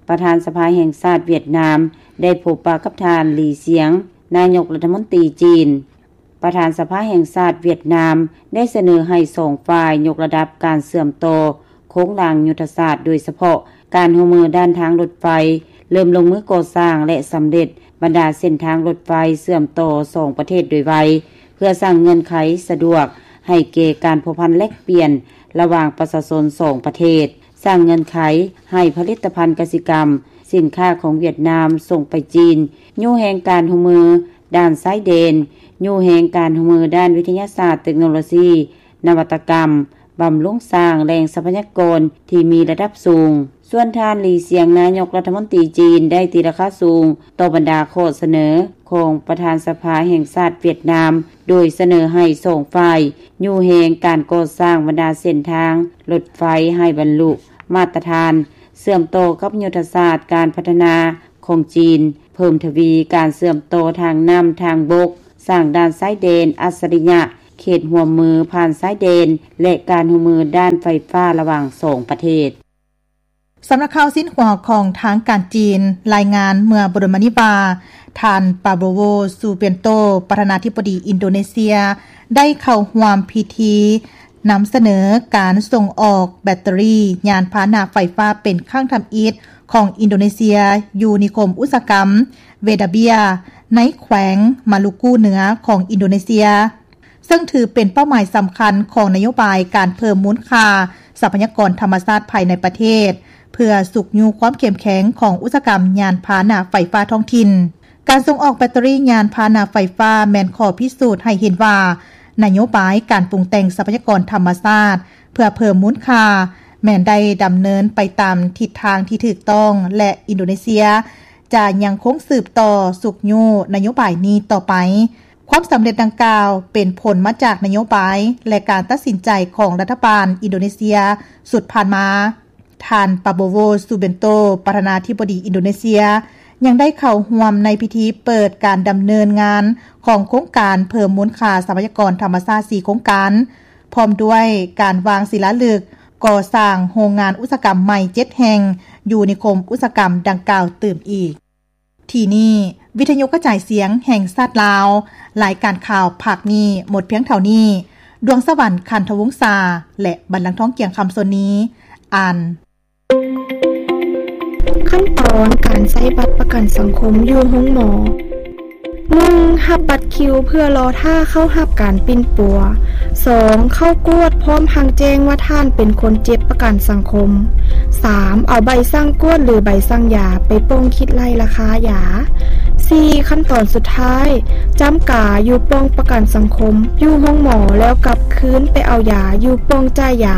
ປະທານສະພາແຫ່ງຊາດຫວຽດນາມ ໄດ້ພົບປະກັບທ່ານ ຫຼີ ຊຽງ ນາຍົກລັດຖະມົນຕີຈີນ. ປະທານສະພາແຫ່ງຊາດຫວຽດນາມ ໄດ້ສະເໜີໃຫ້ສອງຝ່າຍຍົກລະດັບການເຊື່ອມຕໍ່ໂຄງລ່າງຍຸດທະສາດ, ໂດຍສະເພາະການຮ່ວມມືດ້ານທາງລົດໄຟ ເລີ່ມລົງມືກໍ່ສ້າງ ແລະ ສຳເລັດບັນດາເສັ້ນທາງລົດໄຟເຊື່ອມຕໍ່ສອງປະເທດໂດຍໄວ, ເພື່ອສ້າງເງື່ອນໄຂສະດວກໃຫ້ແກ່ການພົວພັນແລກປ່ຽນລະຫວ່າງປະຊາຊົນສອງປະເທດ, ສ້າງເງື່ອນໄຂໃຫ້ຜະລິດຕະພັນກະສິກຳ, ສິນຄ້າຂອງຫວຽດນາມສົ່ງໄປຈີນ, ຍູ້ແຮງການຮ່ວມມື ດ້ານຊາຍແດນ, ຍູ້ແຮງການຮ່ວມມືດ້ານວິທະຍາສາດ, ເຕັກໂນໂລຊີ, ນະວັດຕະກຳ, ບຳລຸງສ້າງແຫຼ່ງຊັບພະຍາກອນທີ່ມີລະດັບສູງ. ສ່ວນທ່ານ ຫຼີ ຊຽງ ນາຍົກລັດຖະມົນຕີຈີນ ໄດ້ຕີລາຄາສູງຕໍ່ບັນດາຂໍ້ສະເໜີຂອງປະທານສະພາແຫ່ງຊາດຫວຽດນາມ, ໂດຍສະເໜີໃຫ້ສອງຝ່າຍຍູ້ແຮງການກໍ່ສ້າງບັນດາເສັ້ນທາງລົດໄຟໃຫ້ບັນລຸມາດຕະຖານ ເຊື່ອມຕໍ່ກັບຍຸດທະສາດການພັດທະນາຂອງຈີນ, ເພີ່ມທະວີການເຊື່ອມຕໍ່ທາງນ້ຳ, ທາງບົກ, ສ້າງດ່ານຊາຍແດນອັດສະລິຍະ ເຂດຮ່ວມມືຜ່ານຊາຍແດນ ແລະ ການຮ່ວມມືດ້ານໄຟຟ້າລະຫວ່າງສອງປະເທດ. ສຳນັກຂ່າວຊິນຫົວຂອງທາງການຈີນ ລາຍງານເມື່ອບໍ່ດົນມານີ້ວ່າ ທ່ານ ປາໂບໂວ ຊູເບນໂຕ ປະທານາທິບໍດີອິນໂດເນເຊຍ ໄດ້ເຂົ້າຮ່ວມພິທີນຳສະເໜີການສົ່ງອອກແບັດເຕີຣີຍານພາຫະນະໄຟຟ້າເປັນຄັ້ງທຳອິດຂອງອິນໂດເນເຊຍ ຢູ່ນິຄົມອຸດສາຫະກຳເວດາເບຍ ໃນແຂວງມາລູກູເໜືອຂອງອິນໂດເນເຊຍ. ເຊິ່ງຖືເປັນເປົ້າໝາຍສຳຄັນຂອງນະໂຍບາຍການເພີ່ມມູນຄ່າຊັບພະຍາກອນທຳມະຊາດພາຍໃນປະເທດ ເພື່ອຊຸກຍູ້ຄວາມເຂັ້ມແຂງຂອງອຸດສາຫະກຳຍານພາຫະນະໄຟຟ້າທ້ອງຖິ່ນ. ການສົ່ງອອກແບັດເຕີຣີຍານພາຫະນະໄຟຟ້າແມ່ນຂໍ້ພິສູດໃຫ້ເຫັນວ່າ ນະໂຍບາຍການປຸງແຕ່ງຊັບພະຍາກອນທຳມະຊາດເພື່ອເພີ່ມມູນຄ່າ ແມ່ນໄດ້ດຳເນີນໄປຕາມທິດທາງທີ່ຖືກຕ້ອງ ແລະ ອິນໂດເນເຊຍຈະຍັງຄົງສືບຕໍ່ຊຸກຍູ້ນະໂຍບາຍນີ້ຕໍ່ໄປ. ຄວາມສຳເລັດດັ່ງກ່າວເປັນຜົນມາຈາກນະໂຍບາຍ ແລະ ການຕັດສິນໃຈຂອງລັດຖະບານອິນໂດເນເຊຍຊຸດຜ່ານມາ. ທ່ານ ປາໂບໂວ ຊູເບນໂຕ ປະທານາທິບໍດີອິນໂດເນເຊຍ ຍັງໄດ້ເຂົ້າຮ່ວມໃນພິທີເປີດການດຳເນີນງານຂອງໂຄງການເພີ່ມມູນຄ່າຊັບພະຍາກອນທຳມະຊາດສີ່ໂຄງການ, ພ້ອມດ້ວຍການວາງສີລາລຶກກໍ່ສ້າງໂຮງງານອຸດສາຫະກຳໃໝ່ເຈັດແຫ່ງ ຢູ່ນິຄົມອຸດສາຫະກຳດັ່ງກ່າວຕື່ມອີກ. ທີ່ນີ້ ວິທະຍຸກະຈາຍສຽງແຫ່ງຊາດລາວ, ລາຍການຂ່າວພາກນີ້ໝົດພຽງເທົ່ານີ້. ດວງສະຫວັນ ຄັນທະວົງສາ ແລະ ບັນລັງທອງ ກຽງຄຳ ສ່ວນນີ້ ອ່ານ. ຂັ້ນຕອນການໃຊ້ບັດປະກັນສັງຄົມຢູ່ໂຮງໝໍ. ໜຶ່ງ ຮັບບັດຄິວເພື່ອລໍຖ້າເຂົ້າຮັບການປິ່ນປົວ. ສອງ ເຂົ້າກວດພ້ອມທັງແຈ້ງວ່າທ່ານເປັນຄົນເຈັບປະກັນສັງຄົມ. ສາມ ເອົາໃບສັ່ງກວດ ຫຼື ໃບສັ່ງຢາໄປປ່ອງຄິດໄລ່ລາຄາຢາ. ສີ່ ຂັ້ນຕອນສຸດທ້າຍ ຈ້ຳກາຢູ່ປ່ອງປະກັນສັງຄົມ ຢູ່ໂຮງໝໍ ແລ້ວກັບຄືນໄປເອົາຢາຢູ່ປ່ອງຈ່າຍຢາ.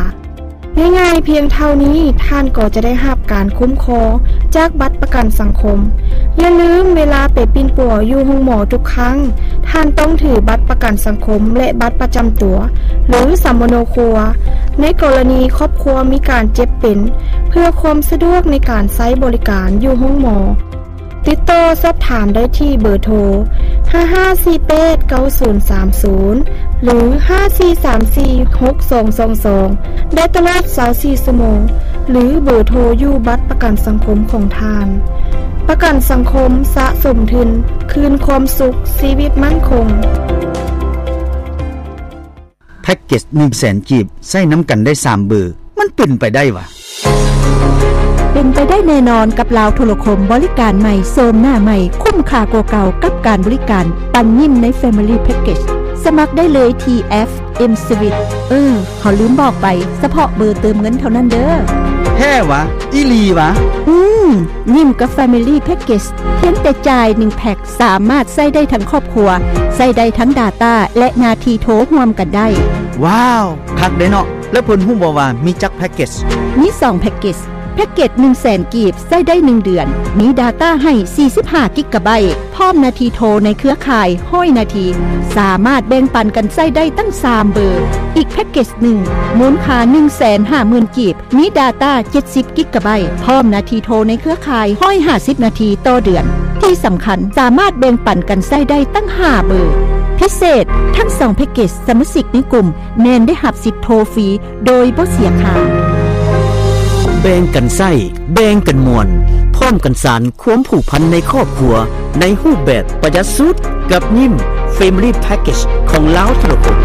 ງ່າຍໆພຽງເທົ່ານີ້ ທ່ານກໍຈະໄດ້ຮັບການຄຸ້ມຄອງຈາກບັດປະກັນສັງຄົມ. ຢ່າລືມ, ເວລາໄປປິ່ນປົວຢູ່ໂຮງໝໍທຸກຄັ້ງ, ທ່ານຕ້ອງຖືບັດປະກັນສັງຄົມ ແລະ ບັດປະຈຳຕົວ ຫຼື ສຳມະໂນຄົວ ໃນກໍລະນີຄອບຄົວມີການເຈັບເປັນ ເພື່ອຄວາມສະດວກໃນການໃຊ້ບໍລິການຢູ່ໂຮງໝໍ. ຕິດຕໍ່ສອບຖາມໄດ້ທີ່ເບີໂທ ຫ້າຫ້າສີ່ແປດເກົ້າສູນສາມສູນ ຫຼື ຫ້າສີ່ສາມສີ່ຫົກສອງສອງສອງ ໄດ້ຕະຫຼອດຊາວສີ່ຊົ່ວໂມງ ຫຼື ເບີໂທຢູ່ບັດປະກັນສັງຄົມຂອງທ່ານ. ປະກັນສັງຄົມ ສະສົມທຶນ ຄືນຄວາມສຸກ ຊີວິດໝັ້ນຄົງ. ແພັກເກັດໜຶ່ງແສນກີບ ໃຊ້ນຳກັນໄດ້ສາມເບີ ມັນເປັນໄປໄດ້ຫວາ? ເປັນໄປໄດ້ແນ່ນອນກັບລາວໂທລະຄົມ ບໍລິການໃໝ່ ໂສມໜ້າໃໝ່ ຄຸ້ມຄ່າກວ່າເກົ່າກັບການບໍລິການປັນຍິ້ມໃນ Family Package. ສະໝັກໄດ້ເລີຍທີ່ແອັບ M Swiss. ເອີ ເຮົາລືມບອກໄປ, ສະເພາະເບີເຕີມເງິນເທົ່ານັ້ນເດີ້. ແທ້ຫວາ? ອີ່ຫຼີຫວາ? ອືມ, ຍິ້ມກັບ Family Package ພຽງແຕ່ຈ່າຍໜຶ່ງແພັກ ສາມາດໃຊ້ໄດ້ທັງຄອບຄົວ, ໃຊ້ໄດ້ທັງ data ແລະ ໜ້າທີ່ໂທຮ່ວມກັນໄດ້. ວ້າວ, ຄັກເດ້ເນາະ. ແລ້ວເພິ່ນຮູ້ບໍ່ວ່າມີຈັກແພັກເກັດ? ມີສອງແພັກເກັດ. ແພັກເກັດໜຶ່ງແສນກີບ ໃຊ້ໄດ້ໜຶ່ງເດືອນ, ມີ data ໃຫ້ສີ່ສິບຫ້າກິກກະໄບ, ພ້ອມໜ້າທີ່ໂທໃນເຄືອຂ່າຍຮ້ອຍນາທີ, ສາມາດແບ່ງປັນກັນໃຊ້ໄດ້ຕັ້ງສາມເບີ. ອີກແພັກເກັດໜຶ່ງ ມູນຄ່າໜຶ່ງແສນຫ້າໝື່ນກີບ, ມີ data ເຈັດສິບກິກກະໄບ, ພ້ອມໜ້າທີ່ໂທໃນເຄືອຂ່າຍຮ້ອຍຫ້າສິບນາທີຕໍ່ເດືອນ. ທີ່ສຳຄັນ, ສາມາດແບ່ງປັນກັນໃຊ້ໄດ້ຕັ້ງຫ້າເບີ. ພິເສດ, ທັງສອງແພັກເກັດ ສະມາຊິກໃນກຸ່ມແມ່ນໄດ້ຮັບສິດໂທຟຣີໂດຍບໍ່ເສຍຄ່າ. ແບ່ງກັນໃຊ້, ແບ່ງກັນມ່ວນ, ພ້ອມກັນສານຄວາມຜູກພັນໃນຄອບຄົວ ໃນຮູບແບບປະຢັດສຸດ ກັບຍິ້ມ Family Package ຂອງລາວໂທລະຄົມ.